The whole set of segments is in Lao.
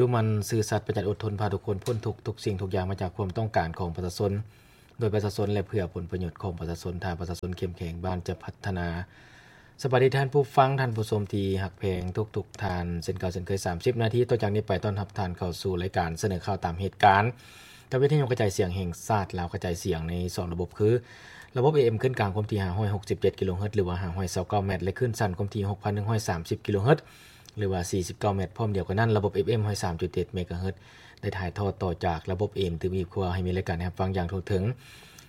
ດຸໝັ່ນ, ຊື່ສັດ, ປະຢັດ, ອົດທົນ, ພາທຸກຄົນພົ້ນທຸກ, ທຸກສິ່ງທຸກຢ່າງມາຈາກຄວາມຕ້ອງການຂອງປະຊາຊົນ, ໂດຍປະຊາຊົນ ແລະ ເພື່ອຜົນປະໂຫຍດຂອງປະຊາຊົນ. ຖ້າປະຊາຊົນເຂັ້ມແຂງ, ບ້ານຈະພັດທະນາ. ສະບາຍດີທ່ານຜູ້ຟັງ, ທ່ານຜູ້ຊົມທີ່ຮັກແພງທຸກໆທ່ານ. ເຊັ່ນເກົ່າເຊັ່ນເຄີຍ, ສາມສິບນາທີຕໍ່ຈາກນີ້ໄປ ຕ້ອນຮັບທ່ານເຂົ້າສູ່ລາຍການສະເໜີຂ່າວຕາມເຫດການ ຈາກວິທະຍຸກະຈາຍສຽງແຫ່ງຊາດລາວ ກະຈາຍສຽງໃນສອງລະບົບຄື ລະບົບ ເອເອັມ ຄື້ນກາງຄວາມຖີ່ ຫ້າຮ້ອຍຫົກສິບເຈັດ ກິໂລເຮີດ ຫຼືວ່າ ຫ້າຮ້ອຍຊາວເກົ້າແມັດ ແລະ ຄື້ນສັ້ນຄວາມຖີ່ ຫົກພັນໜຶ່ງຮ້ອຍສາມສິບ ກິໂລເຮີດ ຫຼືວ່າ ສີ່ສິບເກົ້າແມັດ, ພ້ອມດຽວກັນນັ້ນ ລະບົບ ເອຟເອັມ ຮ້ອຍສາມຈຸດເຈັດ ເມກາເຮີດ ໄດ້ຖ່າຍທອດຕໍ່ຈາກລະບົບ ເອເອັມ ຕື່ມອີກ ເພື່ອໃຫ້ມີລາຍການໃຫ້ຮັບຟັງຢ່າງທົ່ວເຖິງ.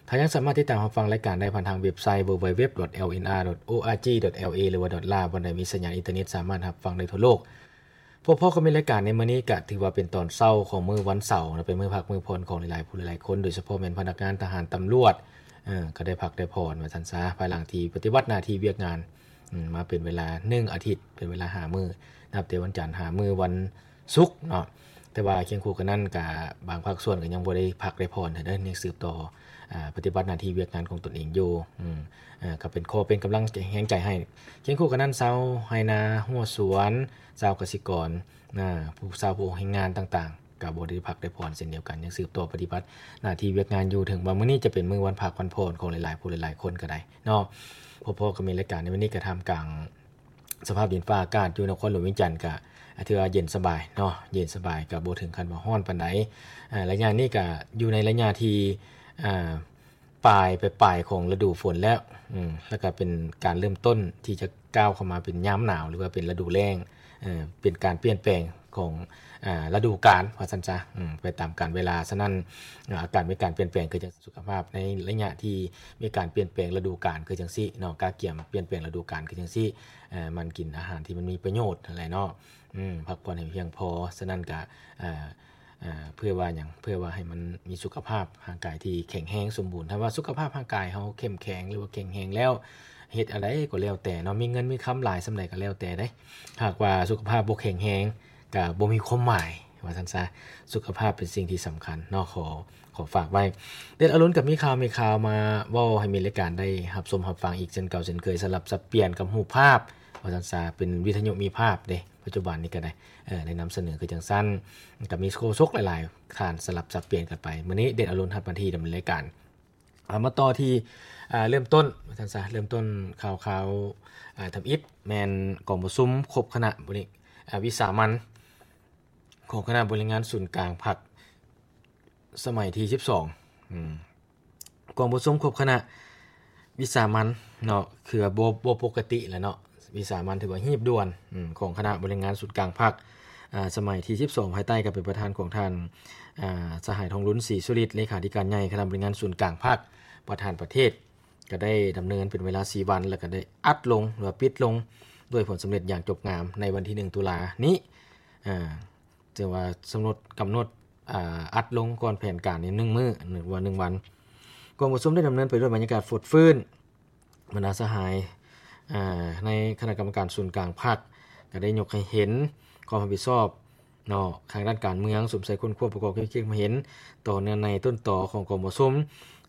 ທ່ານຍັງສາມາດຕິດຕາມຮັບຟັງລາຍການໄດ້ຜ່ານທາງເວັບໄຊ ເວີເວີເວັບ ດອດ ແອລເອັນອາ ດອດ ໂອອາຈີ ດອດ ແອລເອ ຫຼືວ່າ ດອດລາ ບ່ອນໃດມີສັນຍານອິນເຕີເນັດ ສາມາດຮັບຟັງໄດ້ທົ່ວໂລກ. ພົບພໍ້ກັບມີລາຍການໃນມື້ນີ້ ກະຖືວ່າເປັນຕອນເຊົ້າຂອງມື້ວັນເສົາເນາະ, ເປັນມື້ພັກມື້ຜ່ອນຂອງຫຼາຍໆຜູ້ຫຼາຍໆຄົນ, ໂດຍສະເພາະແມ່ນພະນັກງານ, ທະຫານ, ຕຳຫຼວດ ເອີ ກະໄດ້ພັກໄດ້ຜ່ອນວ່າຊັ້ນຊະ, ພາຍຫຼັງທີ່ປະຕິບັດໜ້າທີ່ວຽກງານ ອືມ ມາເປັນເວລາໜຶ່ງອາທິດ, ເປັນເວລາຫ້າມື້, ນັບແຕ່ວັນຈັນຫາມື້ວັນສຸກເນາະ. ແຕ່ວ່າຄຽງຄູ່ກັນນັ້ນ ກະບາງພາກສ່ວນກະຍັງບໍ່ໄດ້ພັກໄດ້ຜ່ອນເດີ, ຍັງສືບຕໍ່ ອາ ປະຕິບັດໜ້າທີ່ວຽກງານຂອງຕົນເອງຢູ່. ອືມ ເອີ ກະເປັນຂໍ້ເປັນກຳລັງແຮງໃຈໃຫ້. ຄຽງຄູ່ກັນນັ້ນ ຊາວໄຮ່ນາຮົ້ວສວນ, ຊາວກະສິກອນ, ອາ ຜູ້ ຊາວຜູ້ແຮງງານຕ່າງໆ ກະບໍ່ໄດ້ພັກໄດ້ຜ່ອນເຊັ່ນດຽວກັນ, ຍັງສືບຕໍ່ປະຕິບັດໜ້າທີ່ວຽກງານຢູ່, ເຖິງວ່າມື້ນີ້ຈະເປັນມື້ວັນພັກວັນຜ່ອນຂອງຫຼາຍໆຜູ້ຫຼາຍໆຄົນກະໄດ້ເນາະ. ພໍໆກັບມີລາຍການໃນມື້ນີ້ ກະທ່າມກາງສະພາບດິນຟ້າອາກາດຢູ່ນະຄອນຫຼວງວຽງຈັນ ກະຖືວ່າເຢັນສະບາຍເນາະ, ເຢັນສະບາຍ, ກະບໍ່ເຖິງຂັ້ນວ່າຮ້ອນປານໃດ. ອາ ໄລຍະນີ້ກະຢູ່ໃນໄລຍະທີ່ ອາ ປາຍ ປາຍໆຂອງລະດູຝົນແລ້ວ ອືມ ແລ້ວກະເປັນການເລີ່ມຕົ້ນທີ່ຈະກ້າວເຂົ້າມາເປັນຍາມໜາວ ຫຼືວ່າເປັນລະດູແລ້ງ, ເປັນການປ່ຽນແປງຂອງ ອາ ລະດູການວ່າຊັ້ນຊະ, ອືມ ໄປຕາມການເວລາ. ສະນັ້ນ ອາ ອາກາດມີການປ່ຽນແປງຄືຈັ່ງສຸຂະພາບໃນໄລຍະທີ່ມີການປ່ຽນແປງລະດູການຄືຈັ່ງຊີ້ເນາະ, ກະກຽມປ່ຽນແປງລະດູການຄືຈັ່ງຊີ້, ເອີ ມັນກິນອາຫານທີ່ມັນມີປະໂຫຍດຫັ້ນແຫຼະເນາະ, ອືມ ພັກຜ່ອນໃຫ້ພຽງພໍ. ສະນັ້ນກະ ອາ ອາ ເພື່ອວ່າຫຍັງ? ເພື່ອວ່າໃຫ້ມັນມີສຸຂະພາບຮ່າງກາຍທີ່ແຂງແຮງສົມບູນ. ຖ້າວ່າສຸຂະພາບຮ່າງກາຍເຮົາເຂັ້ມແຂງ ຫຼືວ່າແຂງແຮງແລ້ວ, ເຮັດອັນໃດກໍແລ້ວແຕ່ເນາະ, ມີເງິນມີຄຳຫຼາຍສ່ຳໃດກໍແລ້ວແຕ່ເດ້, ຫາກວ່າສຸຂະພາບບໍ່ແຂງແຮງ ກະບໍ່ມີຄວາມໝາຍວ່າຊັ້ນຊະ. ສຸຂະພາບເປັນສິ່ງທີ່ສຳຄັນເນາະ, ຂໍ ຂໍຝາກໄວ້. ເດດອາລຸນກະມີຂ່າວ ມີຂ່າວມາເວົ້າໃຫ້ມີລາຍການໄດ້ຮັບຊົມຮັບຟັງອີກເຊັ່ນເກົ່າເຊັ່ນເຄີຍ, ສະຫຼັບສັບປ່ຽນກັບຮູບພາບວ່າຊັ້ນຊະ, ເປັນວິທະຍຸມີພາບເດ້. ປັດຈຸບັນນີ້ກະໄດ້ ເອີ ໄດ້ນຳສະເໜີຄືຈັ່ງຊັ້ນ, ກະມີໂຄສົກຫຼາຍໆທ່ານສະຫຼັບສັບປ່ຽນກັນໄປ. ມື້ນີ້ເດດອາລຸນຮັບໜ້າທີ່ດຳເນີນລາຍການ. ເອົາ ມາຕໍ່ທີ່ ເລີ່ມຕົ້ນວ່າຊັ້ນຊະ, ເລີ່ມຕົ້ນຂ່າວໆ ທຳອິດ ແມ່ນກອງປະຊຸມຄົບຄະນະບໍລິ ວິສາມັນຂອງຄະນະບໍລິຫານງານສູນກາງພັກ ສະໄໝທີສິບສອງ ອືມ ກອງປະຊຸມຄົບຄະນະວິສາມັນເນາະ, ຄືວ່າບໍ່ ບໍ່ປົກກະຕິແຫຼະເນາະ, ວິສາມັນຖືວ່າຮີບດ່ວນ ອືມ ຂອງຄະນະບໍລິຫານງານສູນກາງພັກ ອາ ສະໄໝທີສິບສອງ ພາຍໃຕ້ການເປັນປະທານຂອງທ່ານ ອາ ສະຫາຍ ທອງລຸນ ສີສຸລິດ ເລຂາທິການໃຫຍ່ຄະນະບໍລິຫານງານສູນກາງພັກ ປະທານປະເທດ, ກະໄດ້ດຳເນີນເປັນເວລາສີ່ວັນ ແລ້ວກະໄດ້ອັດລົງ ຫຼືວ່າປິດລົງດ້ວຍຜົນສຳເລັດຢ່າງຈົບງາມໃນວັນທີໜຶ່ງ ຕຸລານີ້. ອາ ຖືວ່າກຳນົດ ກຳນົດ ອາ ອັດລົງກ່ອນແຜນການນີ້ໜຶ່ງມື້ ຫຼືວ່າໜຶ່ງວັນ. ກອງປະຊຸມໄດ້ດຳເນີນໄປດ້ວຍບັນຍາກາດຟົດຟື້ນ, ບັນດາສະຫາຍ ອາ ໃນຄະນະກຳມະການສູນກາງພັກ ກະໄດ້ຍົກໃຫ້ເຫັນຄວາມຮັບຜິດຊອບເນາະ ທາງດ້ານການເມືອງ, ສຸມໃສ່ຄົ້ນຄວ້າປະກອບຄວາມຄິດຄວາມເຫັນຕໍ່ເນື້ອໃນຕົ້ນຕໍຂອງກອງປະຊຸມ,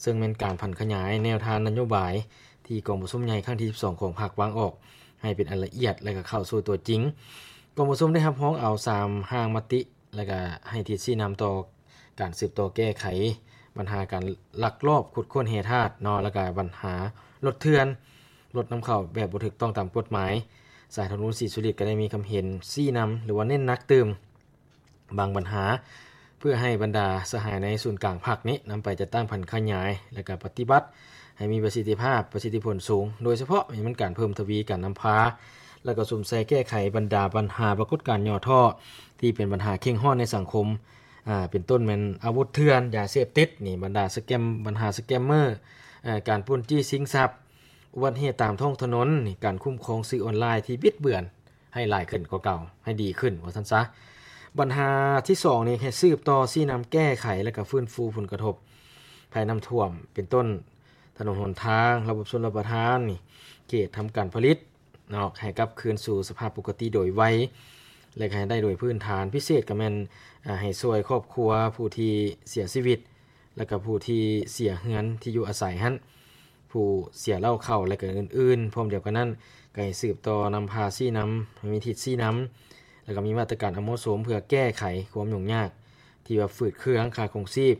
ເຊິ່ງແມ່ນການຜັນຂະຫຍາຍແນວທາງນະໂຍບາຍທີ່ກອງປະຊຸມໃຫຍ່ຄັ້ງທີສິບສອງຂອງພັກວາງອອກໃຫ້ເປັນອັນລະອຽດ ແລະ ກະເຂົ້າສູ່ຕົວຈິງ. ກອງປະຊຸມໄດ້ຮັບຮອງເອົາສາມຮ່າງມະຕິ ແລະ ກະໃຫ້ທິດຊີ້ນຳຕໍ່ການສືບຕໍ່ແກ້ໄຂບັນຫາການລັກລອບຂຸດຄົ້ນແຮ່ທາດເນາະ, ແລະ ກະບັນຫາລົດເຖື່ອນ, ລົດນຳເຂົ້າແບບບໍ່ຖືກຕ້ອງຕາມກົດໝາຍ. ສະຫາຍ ທອງລຸນ ສີສຸລິດ ກະໄດ້ມີຄຳເຫັນຊີ້ນຳ ຫຼືວ່າເນັ້ນໜັກຕື່ມບາງບັນຫາ ເພື່ອໃຫ້ບັນດາສະຫາຍໃນສູນກາງພັກນີ້ນຳໄປຈັດຕັ້ງຜັນຂະຫຍາຍ ແລະ ກະປະຕິບັດໃຫ້ມີປະສິດທິພາບ, ປະສິດທິຜົນສູງ, ໂດຍສະເພາະແມ່ນການເພີ່ມທະວີການນຳພາ ແລະ ກະສຸມໃສ່ແກ້ໄຂບັນດາບັນຫາປາກົດການຫຍໍ້ທໍ້ ທີ່ເປັນບັນຫາເຄັ່ງຮ້ອນໃນສັງຄົມ ອາ ເປັນຕົ້ນແມ່ນອາວຸດເຖື່ອນ, ຢາເສບຕິດນີ້, ບັນດາສະແກມ ບັນຫາສະແກມເມີ, ອາ ການປຸ້ນຈີ້ຊິງຊັບ, ອຸບັດເຫດຕາມທ້ອງຖະໜົນນີ້, ການຄຸ້ມຄອງສື່ອອນລາຍທີ່ບິດເບືອນໃຫ້ຫຼາຍຂຶ້ນກວ່າເກົ່າ, ໃຫ້ດີຂຶ້ນວ່າຊັ້ນຊະ. ບັນຫາທີສອງນີ້ ໃຫ້ສືບຕໍ່ຊີ້ນຳແກ້ໄຂ ແລະ ກະຟື້ນຟູຜົນກະທົບໄພນ້ຳຖ້ວມ ເປັນຕົ້ນຖະໜົນຫົນທາງ, ລະບົບຊົນລະປະທານນີ້, ເຂດທຳການຜະລິດ ເນາະ ໃຫ້ກັບຄືນສູ່ສະພາບປົກກະຕິໂດຍໄວ ແລະ ໃຫ້ໄດ້ໂດຍພື້ນຖານ, ພິເສດກະແມ່ນ ອາ ໃຫ້ຊ່ວຍຄອບຄົວຜູ້ທີ່ເສຍຊີວິດ ແລະ ກະຜູ້ທີ່ເສຍເຮືອນທີ່ຢູ່ອາໄສຫັ້ນ, ຜູ້ເສຍເລົ້າເຂົ້າ ແລະ ກະອື່ນໆ. ພ້ອມດຽວກັນນັ້ນ ກະໃຫ້ສືບຕໍ່ນຳພາຊີ້ນຳ ໃຫ້ມີທິດຊີ້ນຳ ແລ້ວກໍມີມາດຕະການອັນເໝາະສົມເພື່ອແກ້ໄຂຄວາມຫຍຸ້ງຍາກທີ່ວ່າຝືດເຄືອງຄ່າຄອງຊີບ,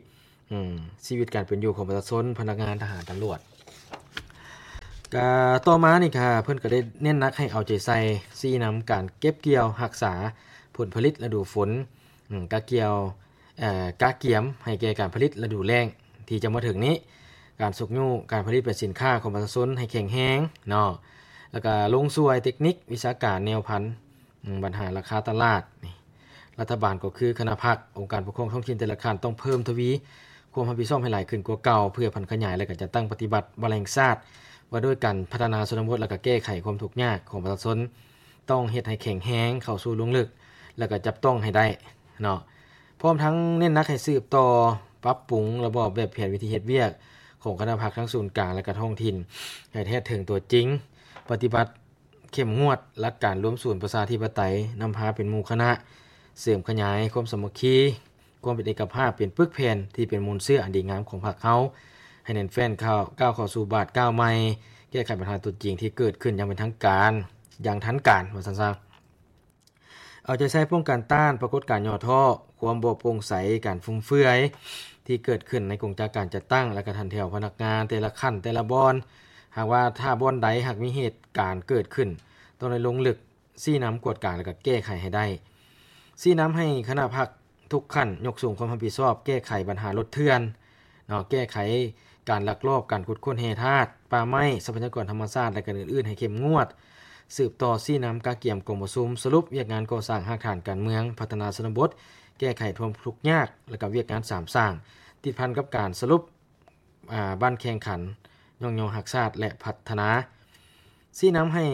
ອືມ, ຊີວິດການເປັນຢູ່ຂອງປະຊາຊົນ, ພະນັກງານ, ທະຫານ, ຕຳຫຼວດ. ກະຕໍ່ມານີ້ກະເພິ່ນກໍໄດ້ເນັ້ນໜັກໃຫ້ເອົາໃຈໃສ່ຊີ້ນຳການເກັບກ່ຽວຮັກສາຜົນຜະລິດລະດູຝົນ, ອືມ, ກະກ່ຽວ, ເອີ, ກະກຽມໃຫ້ແກ່ການຜະລິດລະດູແລ້ງທີ່ຈະມາເຖິງນີ້, ການຊຸກຍູ້ການຜະລິດເປັນສິນຄ້າຂອງປະຊາຊົນໃຫ້ແຂງແຮງເນາະ, ແລ້ວກະລົງຊ່ວຍເຕັກນິກວິຊາການແນວພັນ, ອືມ, ບັນຫາລາຄາຕະຫຼາດນີ້ ລັດຖະບານກໍຄືຄະນະພັກ, ອົງການປົກຄອງທ້ອງຖິ່ນແຕ່ລະຂັ້ນຕ້ອງເພີ່ມທະວີຄວາມຮັບຜິດຊອບໃຫ້ຫຼາຍຂຶ້ນກວ່າເກົ່າ ເພື່ອຜັນຂະຫຍາຍ ແລະ ກະຈັດຕັ້ງປະຕິບັດວາລະແຫ່ງຊາດວ່າດ້ວຍການພັດທະນາຊົນນະບົດ ແລະ ກະແກ້ໄຂຄວາມທຸກຍາກຂອງປະຊາຊົນ, ຕ້ອງເຮັດໃຫ້ແຂງແຮງ, ເຂົ້າສູ່ລົງເລິກ ແລະ ກະຈັບຕ້ອງໃຫ້ໄດ້ເນາະ. ພ້ອມທັງເນັ້ນໜັກໃຫ້ສືບຕໍ່ປັບປຸງລະບອບແບບແຜນວິທີເຮັດວຽກຂອງຄະນະພັກທັງສູນກາງ ແລະ ກະທ້ອງຖິ່ນ ໃຫ້ແທດເຖິງຕົວຈິງ, ປະຕິບັດ ເຂັ້ມງວດຫຼັກການລວມສູນປະຊາທິປະໄຕ, ນຳພາເປັນໝູ່ຄະນະ, ເສີມຂະຫຍາຍຄວາມສາມັກຄີ, ຄວາມເປັນເອກະພາບ, ເປັນປຶກແຜ່ນທີ່ເປັນມູນເຊື້ອອັນດີງາມຂອງພັກເຮົາ, ໃຫ້ແໜ້ນແຟ້ນເຂົ້າ, ກ້າວເຂົ້າສູ່ບາດກ້າວໃໝ່, ແກ້ໄຂບັນຫາຕົວຈິງທີ່ເກີດຂຶ້ນຢ່າງເປັນທາງການ, ຢ່າງທັນການ, ວ່າຊັ້ນຊະ. ເອົາໃຈໃສ່ປ້ອງກັນຕ້ານປາກົດການຫຍໍ້ທໍ້, ຄວາມບໍ່ໂປ່ງໃສ, ການຟຸມເຟືອຍທີ່ເກີດຂຶ້ນໃນກົງຈັກການຈັດຕັ້ງ ແລະ ກະຖັນແຖວພະນັກງານແຕ່ລະຂັ້ນແຕ່ລະບ່ອນ. ຫາກວ່າຖ້າບ່ອນໃດຫາກມີເຫດການເກີດຂຶ້ນ, ຕ້ອງໄດ້ລົງເລິກຊີ້ນຳກວດກາ ແລະ ກະແກ້ໄຂໃຫ້ໄດ້. ຊີ້ນຳໃຫ້ຄະນະພັກທຸກຂັ້ນຍົກສູງຄວາມຮັບຜິດຊອບແກ້ໄຂບັນຫາລົດເຖື່ອນ, ເນາະ, ແກ້ໄຂການລັກລອບການຂຸດຄົ້ນແຮ່ທາດ, ປ່າໄມ້, ຊັບພະຍາກອນທຳມະຊາດ ແລະ ການອື່ນໆ ໃຫ້ເຂັ້ມງວດ, ສືບຕໍ່ຊີ້ນຳກະກຽມກອງປະຊຸມສະຫຼຸບວຽກງານກໍ່ສ້າງຮາກຖານການເມືອງ, ພັດທະນາຊົນນະບົດ, ແກ້ໄຂຄວາມທຸກຍາກ ແລະ ກະວຽກງານສາມສ້າງ ຕິດພັນກັບການສະຫຼຸບ, ອາ, ບັ້ນແຂ່ງຂັນ, ຍ້ອງຍໍຮັກຊາດ ແລະ ພັດທະນາ. ຊີ້ນຳໃຫ້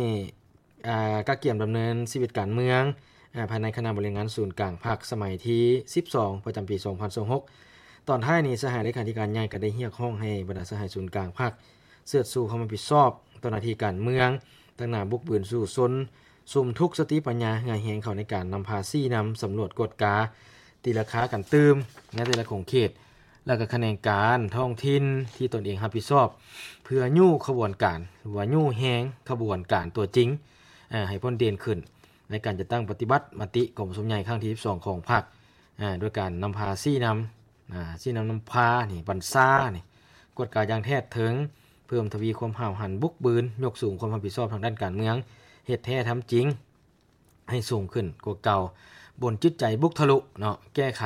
ອາ ກະກຽມດຳເນີນຊີວິດການເມືອງ ອາ ພາຍໃນຄະນະບໍລິຫານງານສູນກາງພັກສະໄໝທີສິບສອງ ປະຈຳປີສອງພັນຊາວຫົກ. ຕອນທ້າຍນີ້ ສະຫາຍເລຂາທິການໃຫຍ່ກໍໄດ້ຮຽກຮ້ອງໃຫ້ບັນດາສະຫາຍສູນກາງພັກເຊີດຊູຄວາມຮັບຜິດຊອບຕໍ່ໜ້າທີ່ການເມືອງ, ຕັ້ງໜ້າບຸກບືນສູ້ຊົນ, ສຸມທຸກສະຕິປັນຍາເຫື່ອແຮງເຂົ້າໃນການນຳພາຊີ້ນຳ, ສຳຫຼວດ, ກວດກາ, ຕີລາຄາກັນຕື່ມໃນແຕ່ລະຂົງເຂດ ແລະ ກະຂະແໜງການທ້ອງຖິ່ນທີ່ຕົນເອງຮັບຜິດຊອບ ເພື່ອຍູ້ຂະບວນການ ຫຼືວ່າຍູ້ແຮງຂະບວນການຕົວຈິງ ເອີ ໃຫ້ພົ້ນເດັ່ນຂຶ້ນ ໃນການຈັດຕັ້ງປະຕິບັດມະຕິກອງປະຊຸມໃຫຍ່ຄັ້ງທີສິບສອງຂອງພັກ ເອີ ໂດຍການນຳພາຊີ້ນຳ ອາ ຊີ້ນຳນຳພານີ້ ບັນຊານີ້ ກວດກາຢ່າງແທດເຖິງ ເພີ່ມທະວີຄວາມຫ້າວຫັນບຸກບືນ ຍົກສູງຄວາມຮັບຜິດຊອບທາງດ້ານການເມືອງ ເຮັດແທ້ທຳຈິງ ໃຫ້ສູງຂຶ້ນກວ່າເກົ່າ ບົນຈິດໃຈບຸກທະລຸເນາະ ແກ້ໄຂ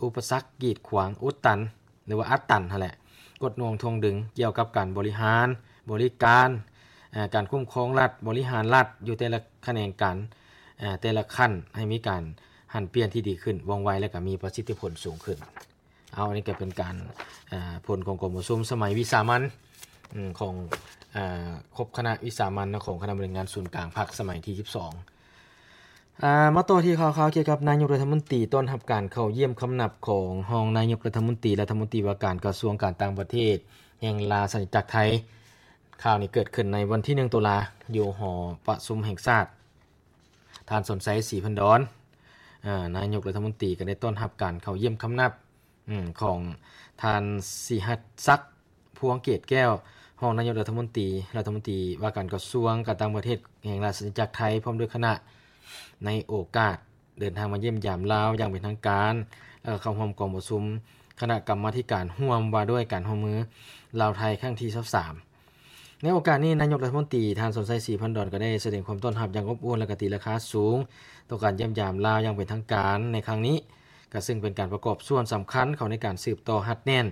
ອຸປະສັກກີດຂວາງອຸດຕັນ ຫຼືວ່າອັດຕັນຫັ້ນແຫຼະ ກົດໜ່ວງຖ່ວງດຶງກ່ຽວກັບການບໍລິຫານ, ບໍລິການ, ການຄຸ້ມຄອງລັດ, ບໍລິຫານລັດ ຢູ່ແຕ່ລະຂະແໜງການ, ແຕ່ລະຂັ້ນ ໃຫ້ມີການຫັນປ່ຽນທີ່ດີຂຶ້ນ, ວ່ອງໄວ ແລະ ກະມີປະສິດທິຜົນສູງຂຶ້ນ. ເອົາ ອັນນີ້ກໍເປັນການ ເອີ ຜົນຂອງກອງປະຊຸມສະໄໝວິສາມັນ ອືມ ຂອງ ເອີ ຄົບຄະນະວິສາມັນຂອງຄະນະບໍລິຫານງານສູນກາງພັກສະໄໝທີສິບສອງ. ເອີ ມາຕໍ່ທີ່ຂ່າວຄາວກ່ຽວກັບນາຍົກລັດຖະມົນຕີ ຕ້ອນຮັບການເຂົ້າຢ້ຽມຄຳນັບຂອງຮອງນາຍົກລັດຖະມົນຕີ ລັດຖະມົນຕີວ່າການກະຊວງການຕ່າງປະເທດແຫ່ງລາຊະອານາຈັກໄທ. ຂ່າວນີ້ເກີດຂຶ້ນໃນວັນທີໜຶ່ງຕຸລາ ຢູ່ຫໍປະຊຸມແຫ່ງຊາດ. ທ່ານ ສອນໄຊ ສີພັນດອນ ເອີ ນາຍົກລັດຖະມົນຕີ ກໍໄດ້ຕ້ອນຮັບການເຂົ້າຢ້ຽມຄຳນັບ ອືມ ຂອງທ່ານ ສີຫັດສັກ ພວງເກດແກ້ວ ຮອງນາຍົກລັດຖະມົນຕີ ລັດຖະມົນຕີວ່າການກະຊວງການຕ່າງປະເທດແຫ່ງລາຊະອານາຈັກໄທ ພ້ອມດ້ວຍຄະນະ ໃນໂອກາດເດີນທາງມາຢ້ຽມຢາມລາວຢ່າງເປັນທາງການ ແລະ ເຂົ້າຮ່ວມກອງປະຊຸມຄະນະກຳມາທິການຮ່ວມວ່າດ້ວຍການຮ່ວມມືລາວ-ໄທ ຄັ້ງທີຊາວສາມ. ໃນໂອກາດນີ້ ນາຍົກລັດຖະມົນຕີ ທ່ານ ສອນໄຊ ສີພັນດອນ ກໍໄດ້ສະແດງຄວາມຕ້ອນຮັບຢ່າງອົບອຸ່ນ ແລະ ກະຕີລາຄາສູງຕໍ່ການຢ້ຽມຢາມລາວຢ່າງເປັນທາງການໃນຄັ້ງນີ້, ກະເຊິ່ງເປັນການປະກອບສ່ວນສຳຄັນເຂົ້າໃນການສືບຕໍ່ຮັດແໜ້ນ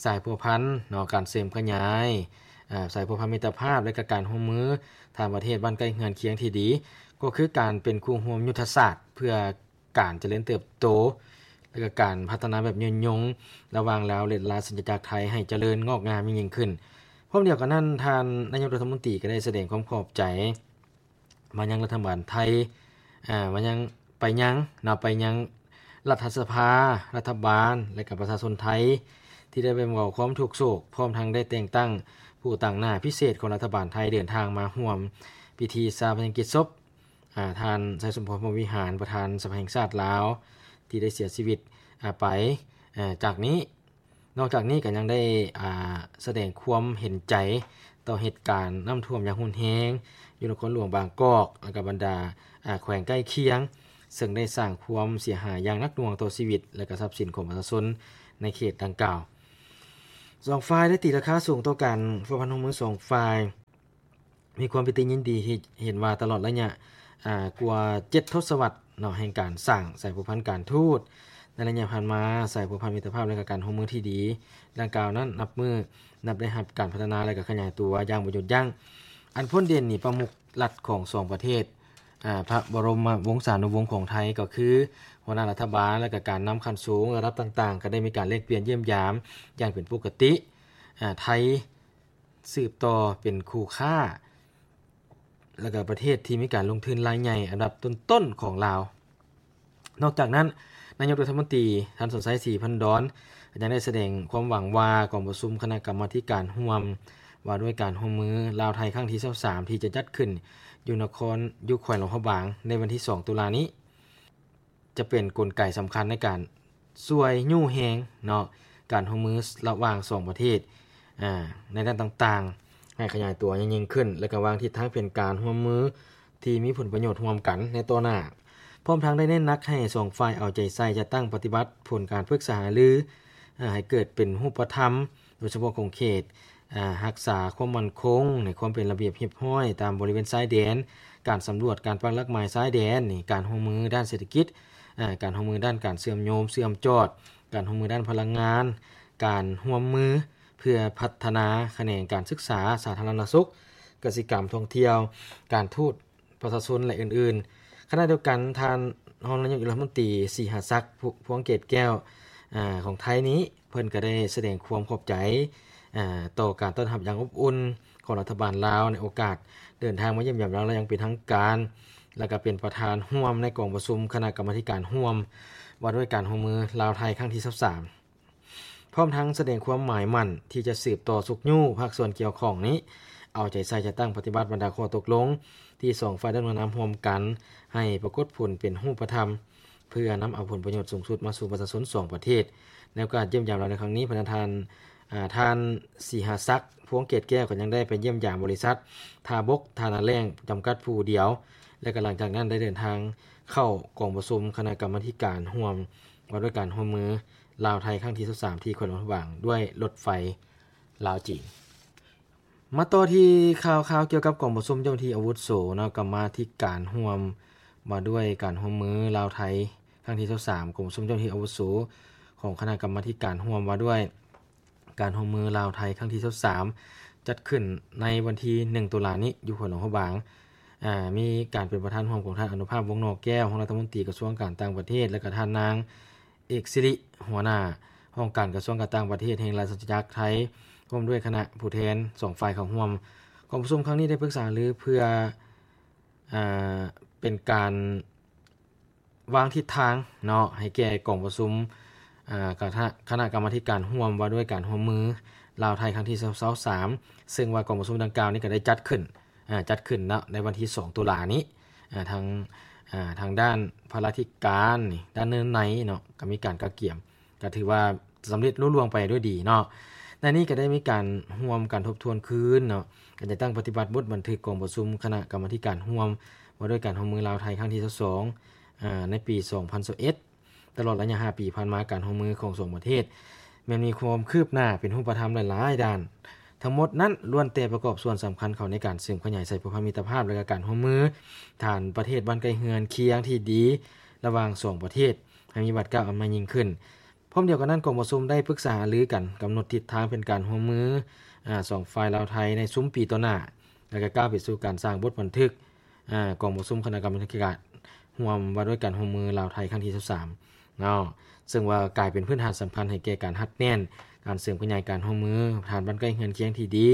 ສາຍພົວພັນເນາະ, ການເສີມຂະຫຍາຍ ອາ ສາຍພົວພັນມິດຕະພາບ ແລະ ກະການຮ່ວມມືທາງປະເທດບ້ານໃກ້ເຮືອນຄຽງທີ່ດີ, ກໍຄືການເປັນຄູ່ຮ່ວມຍຸດທະສາດເພື່ອ ການຈະເລີນເຕີບໂຕ ແລະ ກະການພັດທະນາແບບຍືນຍົງລະຫວ່າງລາວ ແລະ ລາຊະອານາຈັກໄທໃຫ້ຈະເລີນງອກງາມຍິ່ງໆຂຶ້ນ. ພ້ອມດຽວກັນນັ້ນ, ທ່ານນາຍົກລັດຖະມົນຕີກໍໄດ້ສະແດງຄວາມຂອບໃຈມາຍັງລັດຖະບານໄທ, ອາ, ມາຍັງ, ໄປຍັງ, ເນາະ, ໄປຍັງລັດຖະສະພາ, ລັດຖະບານ ແລະ ກະປະຊາຊົນໄທ ທີ່ໄດ້ແບ່ງເບົາຄວາມທຸກໂສກ, ພ້ອມທັງໄດ້ແຕ່ງຕັ້ງຜູ້ຕາງໜ້າພິເສດຂອງລັດຖະບານໄທເດີນທາງມາຮ່ວມພິທີຊາປະນະກິດສົບ ອາ ທ່ານ ໄຊສົມພອນ ພົມວິຫານ ປະທານສະພາແຫ່ງຊາດລາວ ທີ່ໄດ້ເສຍຊີວິດ ອາ ໄປ. ອາ ຈາກນີ້ ນອກຈາກນີ້ກໍຍັງໄດ້ ອາ ສະແດງຄວາມເຫັນໃຈຕໍ່ເຫດການນ້ຳຖ້ວມຢ່າງຮຸນແຮງຢູ່ນະຄອນຫຼວງບາງກອກ ແລະ ກະບັນດາ ອາ ແຂວງໃກ້ຄຽງ ເຊິ່ງໄດ້ສ້າງຄວາມເສຍຫາຍຢ່າງໜັກໜ່ວງຕໍ່ຊີວິດ ແລະ ກະຊັບສິນຂອງປະຊາຊົນໃນເຂດດັ່ງກ່າວ. ສອງຝ່າຍໄດ້ຕີລາຄາສູງຕໍ່ການພົວພັນຮ່ວມມືສອງຝ່າຍ. ມີຄວາມປິຕິຍິນດີທີ່ເຫັນວ່າຕະຫຼອດໄລຍະ ອາ ກວ່າເຈັດທົດສະວັດເນາະ ແຫ່ງການສ້າງສາຍພົວພັນການທູດ. ໃນໄລຍະຜ່ານມາ, ສາຍພົວພັນມິດຕະພາບ ແລະ ກະການຮ່ວມມືທີ່ດີດັ່ງກ່າວນັ້ນ ນັບມື້ນັບໄດ້ຮັບການພັດທະນາ ແລະ ກະຂະຫຍາຍຕົວຢ່າງບໍ່ຢຸດຢັ້ງ. ອັນພົ້ນເດັ່ນນີ້ ປະມຸກລັດຂອງສອງປະເທດ ອາ ພະບໍລົມະວົງສານຸວົງຂອງໄທ ກໍຄືຫົວໜ້າລັດຖະບານ ແລະ ກະການນຳຂັ້ນສູງລະດັບຕ່າງໆ ກໍໄດ້ມີການແລກປ່ຽນຢ້ຽມຢາມຢ່າງເປັນປົກກະຕິ. ອາ ໄທ ສືບຕໍ່ເປັນຄູ່ຄ້າ ແລະ ກະປະເທດທີ່ມີການລົງທຶນລາຍໃຫຍ່ອັນດັບຕົ້ນໆຂອງລາວ. ນອກຈາກນັ້ນ, ນາຍົກລັດຖະມົນຕີ ທ່ານ ສອນໄຊ ສີພັນດອນ ຍັງໄດ້ສະແດງຄວາມຫວັງວ່າ ກອງປະຊຸມຄະນະກຳມາທິການຮ່ວມວ່າດ້ວຍການຮ່ວມມືລາວ-ໄທ ຄັ້ງທີຊາວສາມ ທີ່ຈະຈັດຂຶ້ນຢູ່ນະຄອນ ຢູ່ແຂວງຫຼວງພະບາງ ໃນວັນທີສອງຕຸລານີ້ ຈະເປັນກົນໄກສຳຄັນໃນການຊ່ວຍຍູ້ແຮງເນາະ ການຮ່ວມມືລະຫວ່າງສອງປະເທດ ອາ ໃນດ້ານຕ່າງໆ ໃຫ້ຂະຫຍາຍຕົວໃຫຍ່ຍິ່ງຂຶ້ນ ແລະ ກະວາງທິດທາງແຜນການຮ່ວມມືທີ່ມີຜົນປະໂຫຍດຮ່ວມກັນໃນຕໍ່ໜ້າ. ພ້ອມທັງໄດ້ເນັ້ນໜັກໃຫ້ສອງຝ່າຍເອົາໃຈໃສ່ຈັດຕັ້ງປະຕິບັດຜົນການປຶກສາຫາລື ອາ ໃຫ້ເກີດເປັນຮູບປະທຳ ໂດຍສະເພາະຂົງເຂດ ອາ ຮັກສາຄວາມໝັ້ນຄົງ ໃນຄວາມເປັນລະບຽບຮຽບຮ້ອຍຕາມບໍລິເວນຊາຍແດນ, ການສຳຫຼວດ, ການປັກຫຼັກໝາຍຊາຍແດນ, ນີ້ ການຮ່ວມມືດ້ານເສດຖະກິດ, ອາ ການຮ່ວມມືດ້ານການເຊື່ອມໂຍງເຊື່ອມຈອດ, ການຮ່ວມມືດ້ານພະລັງງານ, ການຮ່ວມມືເພື່ອພັດທະນາຂະແໜງການສຶກສາ, ສາທາລະນະສຸກ, ກະສິກຳ, ທ່ອງທ່ຽວ, ການທູດ, ປະຊາຊົນ ແລະ ອື່ນໆ. ຂະນະດຽວກັນ, ທ່ານຮອງນາຍົກລັດຖະມົນຕີ ສີຫາສັກ ພວງເກດແກ້ວ ອາ ຂອງໄທນີ້ ເພິ່ນກະໄດ້ສະແດງຄວາມຂອບໃຈ ອາ ຕໍ່ການຕ້ອນຮັບຢ່າງອົບອຸ່ນຂອງລັດຖະບານລາວ ໃນໂອກາດເດີນທາງມາຢ້ຽມຢາມລາວຢ່າງເປັນທາງການ ແລະ ກະເປັນປະທານຮ່ວມໃນກອງປະຊຸມຄະນະກຳມາທິການຮ່ວມວ່າດ້ວຍການຮ່ວມມືລາວ-ໄທ ຄັ້ງທີຊາວສາມ. ພ້ອມທັງສະແດງຄວາມໝາຍໝັ້ນທີ່ຈະສືບຕໍ່ຊຸກຍູ້ພາກສ່ວນກ່ຽວຂ້ອງນີ້ ເອົາໃຈໃສ່ຈັດຕັ້ງປະຕິບັດບັນດາຂໍ້ຕົກລົງທີ່ສອງຝ່າຍໄດ້ລົງນາມຮ່ວມກັນ ໃຫ້ປາກົດຜົນເປັນຮູບປະທຳ ເພື່ອນຳເອົາຜົນປະໂຫຍດສູງສຸດມາສູ່ປະຊາຊົນສອງປະເທດ. ໃນໂອກາດຢ້ຽມຢາມລາວໃນຄັ້ງນີ້, ພະນະທ່ານ ອາ ທ່ານ ສີຫາສັກ ພວງເກດແກ້ວ ກໍຍັງໄດ້ໄປຢ້ຽມຢາມບໍລິສັດ ທ່າບົກ ທ່ານາແລ້ງ ຈຳກັດຜູ້ດຽວ ແລະ ກະຫຼັງຈາກນັ້ນໄດ້ເດີນທາງເຂົ້າກອງປະຊຸມຄະນະກຳມາທິການຮ່ວມ ວ່າດ້ວຍການຮ່ວມມືລາວ-ໄທ ຄັ້ງທີຊາວສາມ ທີ່ແຂວງຫຼວງພະບາງ ດ້ວຍລົດໄຟລາວ-ຈີນ. ມາຕໍ່ທີ່ຂ່າວຄາວກ່ຽວກັບກອງປະຊຸມເຈົ້າໜ້າທີ່ອາວຸໂສເນາະ, ກຳມາທິການຮ່ວມວ່າດ້ວຍການຮ່ວມມືລາວ-ໄທ ຄັ້ງທີຊາວສາມ ກອງປະຊຸມເຈົ້າໜ້າທີ່ອາວຸໂສຂອງຄະນະກຳມາທິການຮ່ວມວ່າດ້ວຍ ການຮ່ວມມືລາວ-ໄທ ຄັ້ງທີຊາວສາມ ຈັດຂຶ້ນໃນວັນທີໜຶ່ງຕຸລານີ້ ຢູ່ແຂວງຫຼວງພະບາງ. ອາ ມີການເປັນປະທານຮ່ວມຂອງທ່ານ ອະນຸພາບ ວົງໜໍ່ແກ້ວ ຮອງລັດຖະມົນຕີກະຊວງການຕ່າງປະເທດ ແລະ ກະທ່ານນາງ ເອກສິລິ ຫົວໜ້າຫ້ອງການກະຊວງການຕ່າງປະເທດແຫ່ງລາຊະອານາຈັກໄທ ຮ່ວມດ້ວຍຄະນະຜູ້ແທນສອງຝ່າຍເຂົ້າຮ່ວມ. ກອງປະຊຸມຄັ້ງນີ້ໄດ້ປຶກສາຫາລືເພື່ອ ອາ ເປັນການ ວາງທິດທາງເນາະ ໃຫ້ແກ່ກອງປະຊຸມ ອາ ຄະນະ ຄະນະກຳມາທິການຮ່ວມວ່າດ້ວຍການຮ່ວມມືລາວ-ໄທ ຄັ້ງທີຊາວສາມ ເຊິ່ງວ່າກອງປະຊຸມດັ່ງກ່າວນີ້ກໍໄດ້ຈັດຂຶ້ນ ອາ ຈັດຂຶ້ນເນາະ ໃນວັນທີສອງຕຸລານີ້ ອາ ທາງ ອາ ທາງດ້ານພະລາທິການນີ້ ດ້ານເນື້ອໃນເນາະ ກໍມີການກະກຽມ ກໍຖືວ່າສຳເລັດລຸລ່ວງໄປດ້ວຍດີເນາະ. ໃນນີ້ກໍໄດ້ມີການຮ່ວມກັນທົບທວນຄືນເນາະ ການຈັດຕັ້ງປະຕິບັດບົດບັນທຶກກອງປະຊຸມຄະນະກຳມາທິການຮ່ວມ ວ່າດ້ວຍການຮ່ວມມືລາວ-ໄທ ຄັ້ງທີຊາວສອງ ອາ ໃນປີສອງພັນຊາວເອັດ. ຕະຫຼອດໄລຍະຫ້າປີຜ່ານມາ, ການຮ່ວມມືຂອງສອງປະເທດແມ່ນມີຄວາມຄືບໜ້າເປັນຮູບປະທຳຫຼາຍໆດ້ານ. ທັງໝົດນັ້ນລ້ວນແຕ່ປະກອບສ່ວນສຳຄັນເຂົ້າໃນການເສີມຂະຫຍາຍສາຍພົວພັນມິດຕະພາບ ແລະ ກະການຮ່ວມມືທາງປະເທດບ້ານໃກ້ເຮືອນຄຽງທີ່ດີລະຫວ່າງສອງປະເທດ ໃຫ້ມີບາດກ້າວອັນໃໝ່ຍິ່ງຂຶ້ນ. ພ້ອມດຽວກັນນັ້ນ, ກອງປະຊຸມໄດ້ປຶກສາຫາລືກັນ ກຳນົດທິດທາງແຜນການຮ່ວມມື ອາ ສອງຝ່າຍລາວ-ໄທ ໃນຊຸມປີຕໍ່ໜ້າ ແລະ ກໍກ້າວໄປສູ່ການສ້າງບົດບັນທຶກ ອາ ກອງປະຊຸມຄະນະກຳມາທິການຮ່ວມວ່າດ້ວຍການຮ່ວມມືລາວ-ໄທ ຄັ້ງທີຊາວສາມເນາະ, ເຊິ່ງວ່າກາຍເປັນພື້ນຖານສຳຄັນໃຫ້ແກ່ການຮັດແໜ້ນການເສີມຂະຫຍາຍການຮ່ວມມືທາງດ້ານບ້ານໃກ້ເຮືອນຄຽງທີ່ດີ,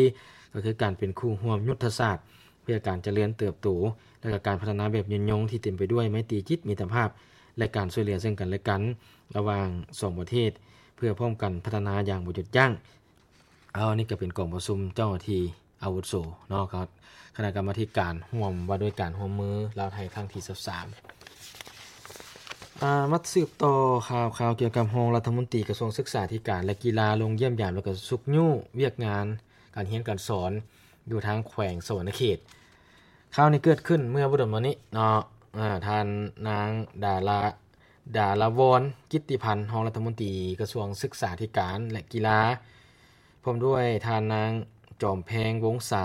ກໍຄືການເປັນຄູ່ຮ່ວມຍຸດທະສາດ ເພື່ອການຈະເລີນເຕີບໂຕ ແລະ ກະການພັດທະນາແບບຍືນຍົງທີ່ເຕັມໄປດ້ວຍໄມຕີຈິດມິດຕະພາບ ແລະ ການຊ່ວຍເຫຼືອເຊິ່ງກັນ ແລະ ກັນ ລະຫວ່າງສອງປະເທດ ເພື່ອພ້ອມກັນພັດທະນາຢ່າງບໍ່ຢຸດຢັ້ງ. ເອົາ ນີ້ກໍເປັນກອງປະຊຸມເຈົ້າໜ້າທີ່ອາວຸໂສເນາະ, ຄະນະກຳມາທິການຮ່ວມວ່າດ້ວຍການຮ່ວມມືລາວ-ໄທ ຄັ້ງທີຊາວສາມ. ອາ ມາສືບຕໍ່ຂ່າວຄາວກ່ຽວກັບຮອງລັດຖະມົນຕີກະຊວງສຶກສາທິການ ແລະ ກິລາ ລົງຢ້ຽມຢາມ ແລະ ກໍຊຸກຍູ້ວຽກງານການຮຽນການສອນ ຢູ່ທາງແຂວງສະຫວັນນະເຂດ. ຂ່າວນີ້ເກີດຂຶ້ນເມື່ອບໍ່ດົນມານີ້ເນາະ, ເອີ ທ່ານນາງ ດາລາ ດາລາວອນ ກິດຕິພັນ ຮອງລັດຖະມົນຕີກະຊວງສຶກສາທິການ ແລະ ກິລາ, ພ້ອມດ້ວຍທ່ານນາງ ຈອມແພງ ວົງສາ